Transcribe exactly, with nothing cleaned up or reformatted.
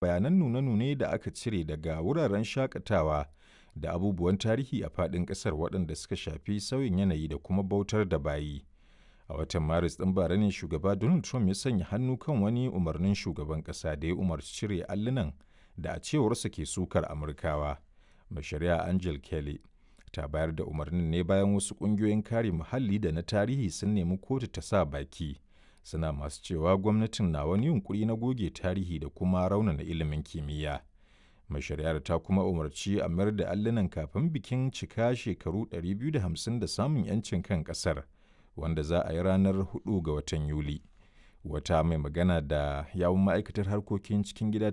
Bayanan nune-nune da aka cire daga wuraren shaƙatawa da abubuwan tarihi a faɗin ƙasar waɗanda suka shafi sauyin yanayi da kuma bautar da bayi. A watan Maris ɗin bara ne Shugaba Donald Trump ya sanya hannu kan wani umarnin shugaban ƙasa da ya umarci cire allunan da a cewarsa ke sukar Amurkawa. Mai Shari'a Angel Kelly ta bayar da umarnin ne bayan wasu ƙungiyoyin kare muhalli da na tarihi sun nemi kotu ta sa baki, suna masu cewa gwamnatin na wani yunƙuri na goge tarihi da kuma raunana ilimin kimiyya. Mai shari'ar ta kuma umarci a mayar da allunan kafin bikin cika shekaru ɗari biyu da hamsin da samun 'yancin kan ƙasar, wanda za a yi ranar huɗu ga watan Yuli. Wata mai magana da yawun ma'aikatar harkokin cikin gida